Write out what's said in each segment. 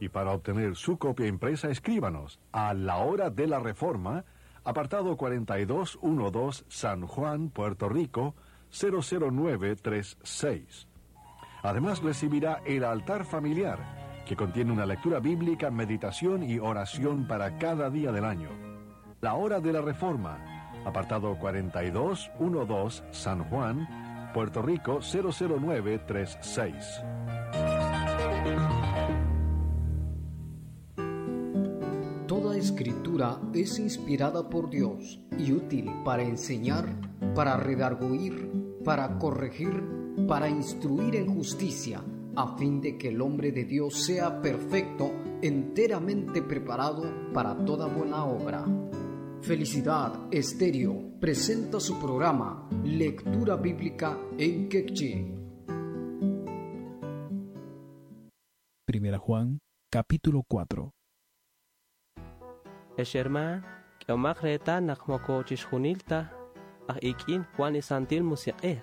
Y para obtener su copia impresa, escríbanos a La Hora de la Reforma, apartado 4212, San Juan, Puerto Rico, 00936. Además recibirá el altar familiar, que contiene una lectura bíblica, meditación y oración para cada día del año. La Hora de la Reforma, apartado 4212, San Juan, Puerto Rico 00936. Toda escritura es inspirada por Dios y útil para enseñar, para redarguir, para corregir, para instruir en justicia, a fin de que el hombre de Dios sea perfecto, enteramente preparado para toda buena obra. Felicidad Estéreo presenta su programa Lectura Bíblica en Quechí. Primera Juan, capítulo 4. Ex herman, k'ehomaq reetal naq moko chixjunil ta aj ik'in wan li Santil Musiq'ej.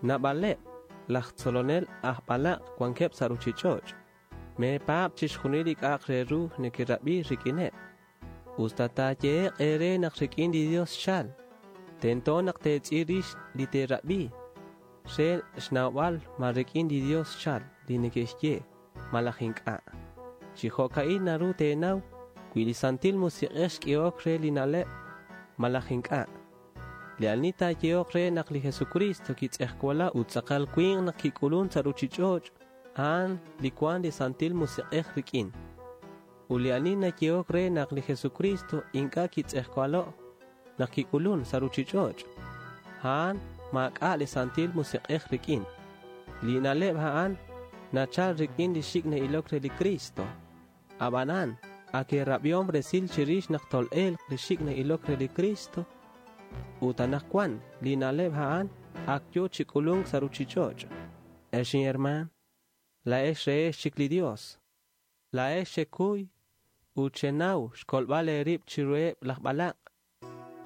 Naab'aleb' laj tzolonel aj b'alaq wankeb' sa' ruchich'och'. Meepaab' chixjunil li k'a'aq re ru nekerab'i rik'ineb'. Us ta taayehe'q eere naq rik'in li Dios xchal. Tento naq teetz'il rix li teerab'i re xnawb'al ma rik'in li Dios xchal li neke'xye malaj ink'a'. Chi jo'ka'in naru teenaw wi li Santil Musiq'ej xk'ehok re li na'leb' malaj ink'a'. Li ani taayehoq re naq li Jesucristo kitz'ejwala ut tz'aqal winq naq kik'ulun sa' ruchich'och', a'an li cuan li Santil Musiq'ej rik'in. Ut li ani nayehok re naq li Jesucristo ink'a' kitz'ejwalo' naq kik'ulun sa' ruchich'och', a'an maak'a' li Santil Musiq'ej rik'in. Li na'leb' a'an nachal rik'in li xik' na'ilok re li Cristo. Ab'anan, ak eerab'ihom resil chirix naq tol'elq li xik' na'ilok re li Cristo ut anaqwan li na'leb' a'an ak yo chi k'ulunk sa' ruchich'och'. Ex inherman, laa'ex rehex chik li Dios. Laa'ex xekuy ut xenaw xkolb'al eerib' chiruheb' laj b'alaq'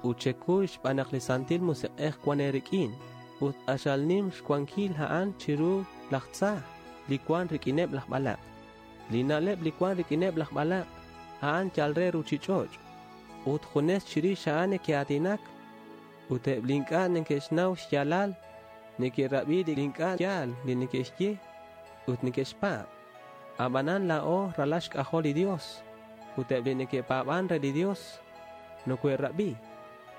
ut xekuy xb'aan naq li Santil Musiq'ej wan eerik'in ut q'axal nim xwankil a'an chiru laj tza li cuan rik'ineb' laj b'alaq'. Li na'leb' li cuan rik'ineb' laj b'alaq' a'an yal re ruchich'och' ut junes chirix a'an neke'aatinak ut eb' li ink'a' neke'xnaw xyaalal neke'rab'i li ink'a' yaal li neke'xye ut neke'xpaab'. Ab'anan laa'o ralal xk'ajol li Dios ut eb' li neke'paab'an re li Dios nokohe'rab'i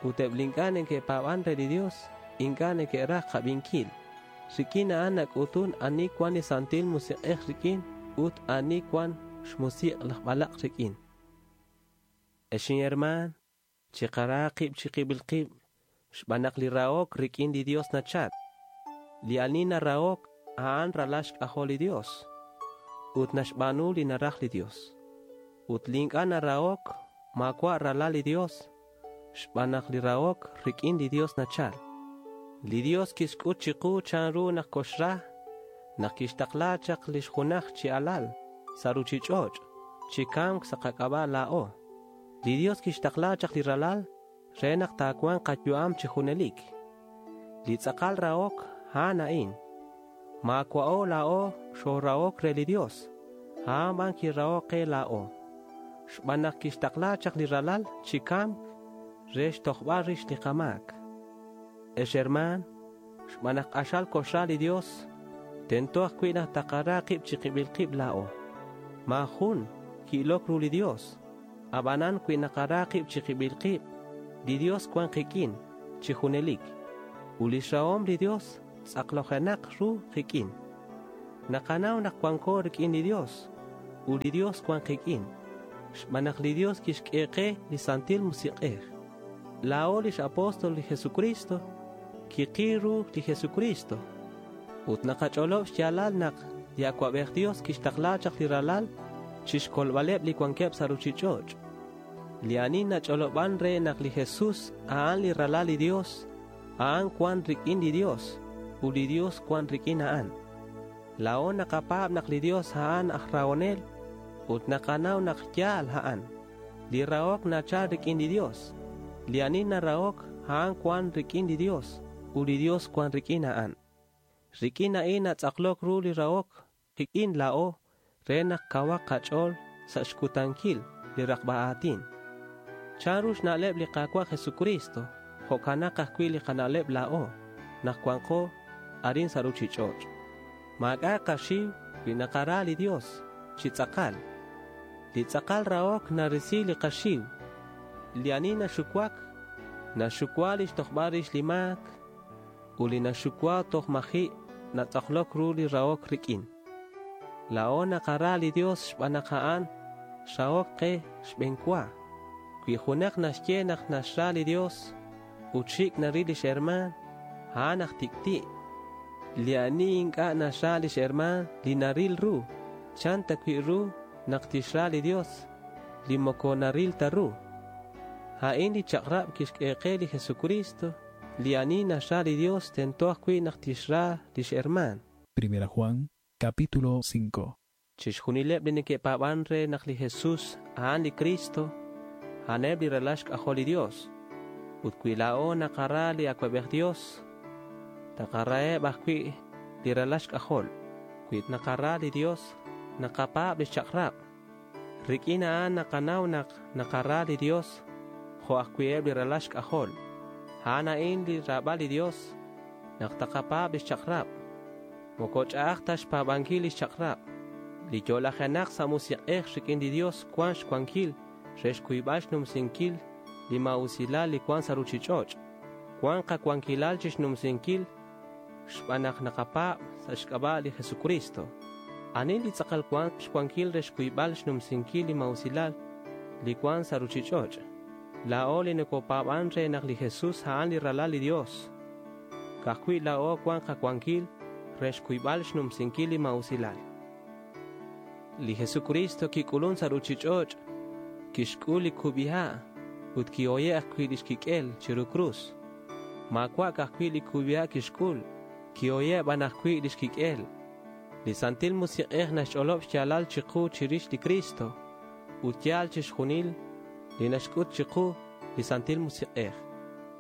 ut eb' li ink'a' neke'paab'an re li Dios ink'a' neke'raj qab'inkil. Rik'in a'an nak'utun ani cuan li Santil Musiq'ej rik'in ut ani cuan xmusiq' laj b'alaq' rik'in. Ex inherman, chiqara qib' chiqib'il qib' xb'aan naq li rahok rik'in li Dios nachal. Li ani narahok a'an ralal xk'ajol li Dios ut naxb'aanu li naraj li Dios. Ut li ink'a' narahok maawa' ralal li Dios xb'aan naq li rahok rik'in li Dios nachal. Li Dios kixk'ut chiqu chanru naq koxra naq kixtaqla chaq lix junaj chi alal sa' ruchich'och' chi kamk sa' qak'ab'a' laa'o. Li Dios kixtaqla chaq li ralal re naq taawanq qayu'am chi junelik. Li tz'aqal rahok a'an a'in. Maawa'o laa'o xoorahok re li Dios. A'an b'an kirahok qe laa'o. Xb'aan naq kixtaqla chaq li ralal chi kamk re xtojb'al rix li qamaak. Ex herman, xb'aan naq q'axal koxra li Dios, tento ajwi' naq taqara qib' chiqib'il qib' laa'o. Maajun ki'ilok ru li Dios. Ab'anan wi naqara qib' chiqib'il qib', li Dios cuan qik'in chi junelik. Ut lix rahom li Dios tz'aqlojenaq ru qik'in. Naqanaw naq cuanco rik'in li Dios ut li Dios cuan qik'in. Xb'aan naq li Dios kixk'e qe li Santil Musiq'ej. Laa'o lix apóstol li Jesucristo kiqil ru li Jesucristo. Ut naqach'olob' xyaalal naq li Awab'ej Dios kixtaqla chaq li ralal chixkolb'aleb' li wankeb' sa' ruchich'och'. Li ani nach'olob'an re naq li Jesús a'an li ralal li Dios, a'an cuan rik'in li Dios ut li Dios cuan rik'in a'an. Laa'o naqapaab' naq li Dios a'an aj rahonel ut naqanaw naq yaal a'an. Li rahok nachal rik'in li Dios. Li ani narahok a'an cuan rik'in li Dios ut li Dios cuan rik'in a'an. Rik'in a'in natz'aqlok ru li rahok qik'in laa'o. re naq kawaq qach'ool sa' xcutanquil li rakba a̱tin. Chanru xna'leb li Ka̱cua' Jesucristo, jo'canak ajcui' li kana'leb la̱o nak cuanko arin sa' ruchich'och'. Ma̱c'a' kaxiu cui nakara li Dios chi tz'akal. Li tz'akal rahok narisi li kaxiu. Li ani naxucuac, naxucua lix tojbal rix li ma̱c, ut li naxucua toj ma̱ji' natz'aklok ru li rahok riq'uin. La̱o nakara li Dios xban nak a'an xrahok ke xbe̱n cua. Cui junak naxye nak naxra li Dios ut xic' naril lix herma̱n, a'an aj tic'ti'. Li ani inc'a' naxra lix herma̱n li naril ru, chan ta cui' ru nak tixra li Dios li moco naril ta ru. A'in li chak'rab quixq'ue ke li Jesucristo. Li ani naxra li Dios tento ajcui' nak tixra lix herma̱n. Primera Juan, capítulo 5. Chixjunileb li neque'pa̱ban re nak li Jesús a'an li Cristo, a'aneb li ralal xk'ajol li Dios. Ut cui la̱o nakara li Acuabej Dios, takaraheb ajcui' li ralal xk'ajol. Cui nakara li Dios, nakapa̱b lix chak'rab. Riq'uin a'an nakanau nak nakara li Dios, jo' ajcui' eb li ralal xk'ajol. A'an a'in li rabal li Dios, nak takapa̱b lix chak'rab. Moco ch'a'aj ta xpa̱banquil lix chak'rab. Li yo'lajenak sa' musiq'ej riq'uin li Dios cuan xcuanquil re xcuybal xnumsinquil li ma̱usilal li cuan sa' ruchich'och'. Cuan kacuanquilal chixnumsinquil xban nak nakapa̱b sa' xc'aba' li Jesucristo. Ani li tz'akal cuan xcuanquil re xcuybal xnumsinquil li ma̱usilal li cuan sa' ruchich'och'. La̱o li nocopa̱ban re nak li Jesús a'an li ralal li Dios. Cajcui' la̱o cuan kacuanquil re xcuybal xnumsinquil li ma̱usilal. Li Jesucristo kik'ulun sa' ruchich'och', kixk'ul li kub'iha' ut kihoye' ajwi' lix kik'el chiru cruz. Maawa' ajwi' li kub'iha' kixk'ul, kihoye' b'an ajwi' lix kik'el. Li Santil Musiq'ej naxch'olob' xyaalal chiqu chirix li Cristo ut yaal chixjunil li naxk'ut chiqu li Santil Musiq'ej.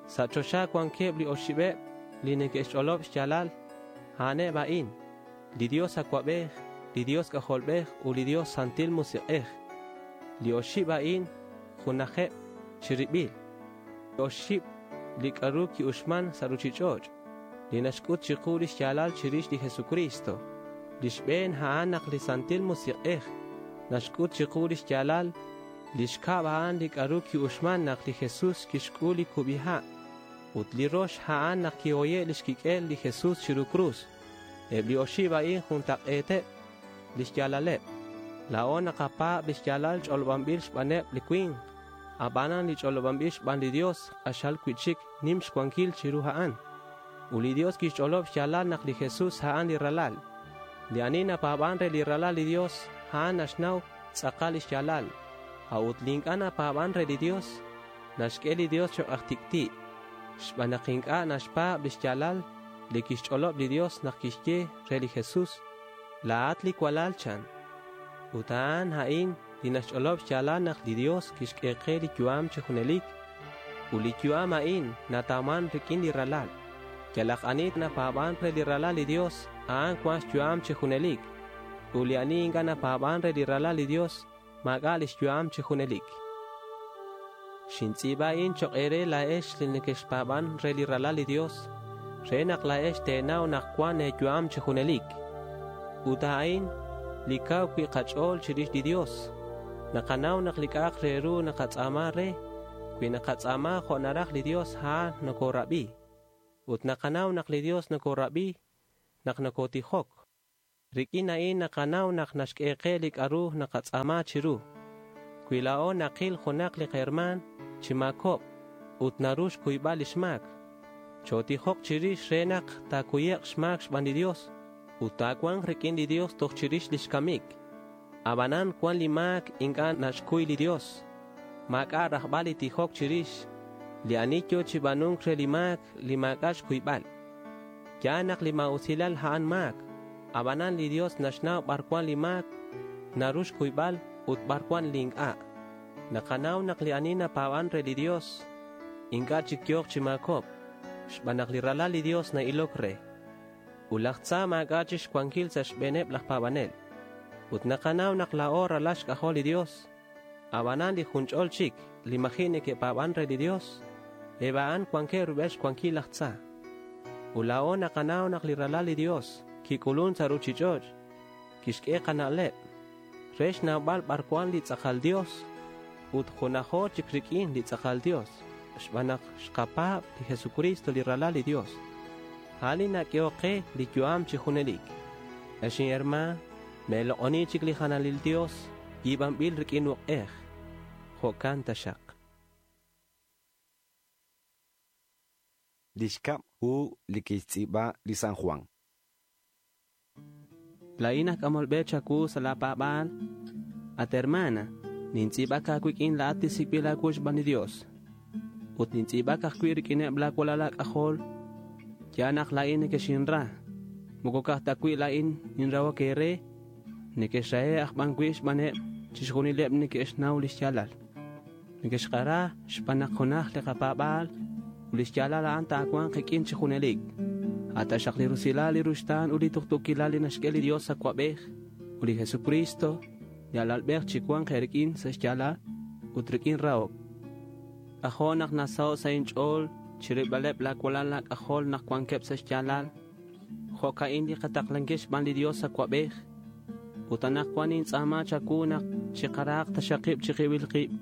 Sa' choxa cuanqueb li oxibeb li neke'xch'olob' xyaalal, a'aneb a'in, li Dios Acuabej, li Dios K'ajolb'ej ut li Dios Santil Musiq'ej. Li oxib a'in junajeb chiribil. Oxib li k'aru ki'uxman sa' ruchich'och' li naxk'ut chiqu lix yaalal chirix li Jesucristo. Lix b'een a'an naq li Santil Musiq'ej naxk'ut chiqu lix yaalal. Lix kab' a'an li k'aru ki'uxman naq li Jesús kixk'ul li kub'iha'. Ut li rox a'an naq kihoye' lix kik'el li Jesús chiru cruz. Eb li oxib a'in juntaq'eeteb' lix yaalaleb'. La̱o nakapa̱b lix yaalal ch'olob'anb'il xb'aneb li cui̱nk. Ab'anan li ch'olob'anb'il xb'an li Dios q'axal cui'chic nim xcuanquil chiru a'an. Ut li Dios quixch'olob xyaalal nak li Jesús a'an li ralal. Li ani napa̱ban re li ralal li Dios a'an naxnaw tz'akal lix yaalal. A'ut li ink'a' napa̱ban re li Dios naxq'ue li Dios choq' aj tic'ti'. Xb'aan naq ink'a' naxpa̱b lix yaalal li quixch'olob li Dios nak quixye re li Jesús, la̱at li cualal chan. Ut a'an a'in li naxch'olob xyaalal nak li Dios quixq'ue ke li yu'am chi junelik. Ut li yu'am a'in natawman rik'in li ralal. Yalaq ani napa̱ban re li ralal li Dios, a'an cuan xyu'am chi junelik. Ut li ani ink'a' napa̱ban re li ralal li Dios, ma̱k'a' lix yu'am chi junelik. Xintz'i̱ba a'in choq' eere la̱ex li nequexpa̱ban re li ralal li Dios, re nak la̱ex te̱nau nak cuan e̱yu'am chi junelik. Ut a'in li kaw cui' kach'o̱l chirix li Dios. Nakanaw nak li k'a'aq re ru nakatz'a̱ma re, cui nakatz'a̱ma jo' naraj li Dios, a'an nocorab'i. Ut nakanaw nak li Dios nocorab'i nak nocotijok. Rik'in a'in nakanaw nak naxq'ue ke li k'a'ru nakatz'a̱ma chiru. Cui la̱o nakil junak li herma̱n chi ma̱cob ut naru xcuybal lix ma̱c. Chotijok chirix re nak ta̱cuyek xma̱c xban li Dios ut ta̱cua̱nk rik'in li Dios toj chirix lix camic. Abanan cuan li ma̱c ink'a' naxcuy li Dios. Ma̱k'a' rajbal li tijok chirix. Li ani yo chi b'anunk re li ma̱c li ma̱k'a' xcuybal. Yaal nak li ma̱usilal a'an ma̱c. Abanan li Dios naxnaw bar cuan li ma̱c naru xcuybal ut bar cuan li ink'a'. Nakanaw nak li ani napa̱ban re li Dios ink'a' chic yook chi ma̱cob. Xb'aan naq li ralal li Dios na'ilok re. Ut laj tza ma̱k'a' chixcuanquil sa' xb'eeneb laj pa̱banel. Ut naqanaw naq laa'o ralal xk'ajol li Dios. Ab'anan li junch'ol chik li maji' neke'paab'an re li Dios, eb' a'an wankeb' rub'el xwankil laj tza. Ut laa'o naqanaw naq li ralal li Dios kik'ulun sa' ruchich'och', kixk'e qana'leb' re xnawb'al b'ar wan li tz'aqal Dios ut junajo chik rik'in li tz'aqal Dios xb'aan naq xqapaab' li Jesucristo li ralal li Dios. A'an li nak'ehok qe li yu'am chi junelik. Ex inhermaan, meeloq'oni chik li jalanil Dios yiib'anb'il rik'in uq'ej. Jo'kan taxaq. Li xkab' hu li kixtz'iib'a li San Juan. Laa'in aj k'amol b'e chawu sa' laapaab'aal. At hermana, nintz'iib'ak aawik'in laa'at li sik'b'il aawu xb'aan li Dios. Ut nintz'iib'ak ajwi' rik'ineb' laawalal aak'ajol. Yaal naq laa'in nekexinra. Moko ka'aj ta wi' laa'in ninrahok eere, nekexrahe' aj b'an wi' xb'aaneb' chixjunileb' neke'xnaw li xyaalal. Nekexqara xb'aan naq junaj li qapaab'aal ut li xyaalal a'an taawanq qik'in chi junelik. Ataxaq li rusilal li ruxtaan ut li tuqtuukilal li naxk'e li Dios awab'ej ut li Jesucristo li alalb'ej chi wanq eerik'in sa' xyaalal ut rik'in rahok. K'ajo' naq nasaho' sa' inch'ool chirilb'aleb' laawalal laak'ajol naq wankeb' sa' xyaalal. Jo'ka'in li qataqlankil xb'aan li Dios awab'ej. Ut anaqwan nintz'aama chawu naq chiqarahaq taxaq qib' chiqib'il qib'.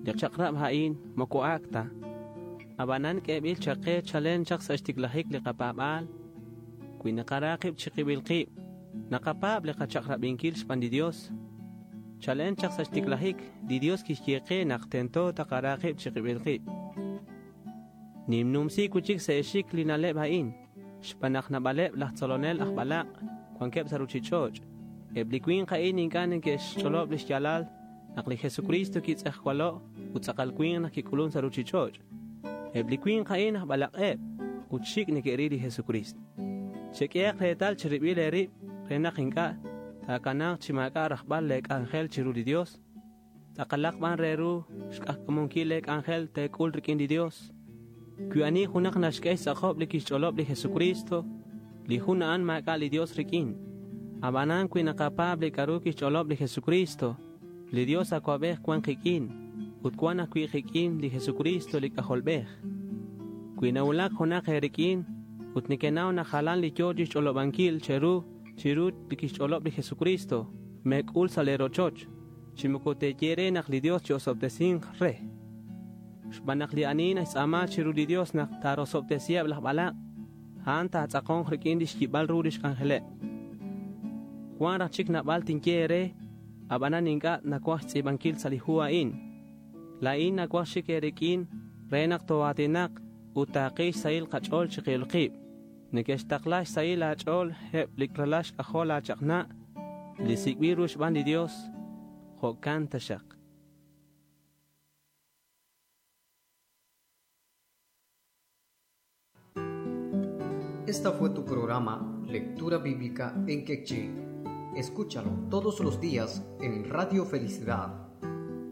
Li chaq'rab' a'in moko ak' ta. Ab'anan k'eeb'il chaq qe chalen chaq sa' xtiklajik li qapaab'aal. Wi naqara qib' chiqib'il qib', naqapaab' li qachaq'rab'inkil xb'aan li Dios. Chalen chaq sa' xtiklajik, li Dios kixye qe naq tento taqara qib' chiqib'il qib'. Nimnumsi wi' chik sa' exik li na'leb' a'in, xb'aan naq naab'aleb' laj tzolonel aj b'alaq' wankeb' sa' ruchich'och'. Eb' li winq a'in ink'a' neke'xch'olob' li xyaalal naq li Jesucristo kitz'ejwalo' ut tz'aqal winq naq kik'ulun sa' ruchich'och'. Eb' li winq a'in aj b'alaq'eb' ut xik' neke'ril li Jesucristo. Chek'ehaq reetal cherib'il eerib' re naq ink'a' taakanaaq chi maak'a' rajb'al lee k'anjel chiru li Dios. Tz'aqalaq b'an re ru xk'ajk'amunkil lee k'anjel teek'ul rik'in li Dios. Wi ani junaq naxk'e xtz'aqob' li kixch'olob' li Jesucristo, li jun a'an maak'a' li Dios rik'in. Ab'anan wi naqapaab' li k'a'ru kixch'olob' li Jesucristo, li Dios awab'ej wan qik'in ut wan ajwi' qik'in li Jesucristo li K'ajolb'ej. Wi nawulak junaq eerik'in ut nekenaw naq jalan li yoo chixch'olob'ankil cheru chiru li kixch'olob' li Jesucristo, meek'ul sa' lee rochoch, chi moko teeye re naq li Dios chi'osob'tesinq re. Xb'aan naq li ani naxtz'aama chiru li Dios naq taarosob'tesiheb' laj b'alaq', a'an taatz'aqonq rik'in lix yib'al ru lix k'anjeleb'. Wan raj chik naab'al tinye eere, ab'anan ink'a' nawaj xtz'iib'ankil sa' li hu a'in. Laa'in nawaj xik eerik'in re naq too'aatinaq ut taaqi xsahil qach'ool chiqib'il qib'. Neke'xtaqla xsahil aach'ool eb' li ralal xk'ajol aachaq'na' li sik'b'il ru xb'aan li Dios. Jo'kan taxaq. Esta fue tu programa Lectura Bíblica en Quechí. Escúchalo todos los días en Radio Felicidad.